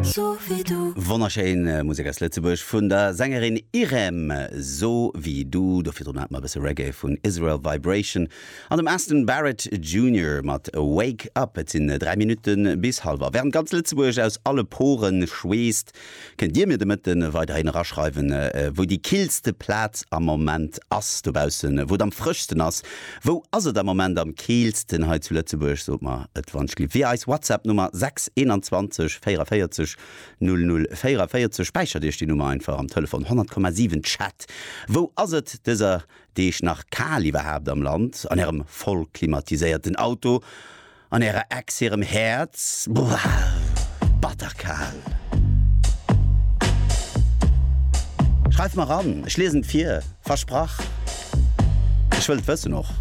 Wonnerschéin Musek aus Lëtzebuerg vun der Sängerin Irem, So wie du. Do virdrun hate mer e bësse Reggae vun Israel Vibration an dem Aston Barrett Junior mat Wake Up. Et sinn 3 Minutte bis hallwer. Wärend ganz Lëtzebuerg aus alle Pore schweesst, kënnt Dir mir de Mëtte weiderhin eraschreiwen, wou déi killste Plaz am Moment ass dobaussen, wou et am frëschsten ass. Wou ass et am Moment am keelsten hei zu Lëtzebuerg? Sot mer et wann ech via eis WhatsApp Nummer 6 21 44 00 44. Späichert iech déi Nummer einfach am Telefon 100,7 Chat. Wou ass et dëser Deeg nach kal iwwerhaapt am Land? An ärem voll klimatiséierten Auto? An ärer Ex hirem Häerz? Buah, batterkal! Schreift mer an, ech liesen et vir, versprach! Ech wëll et wëssen och.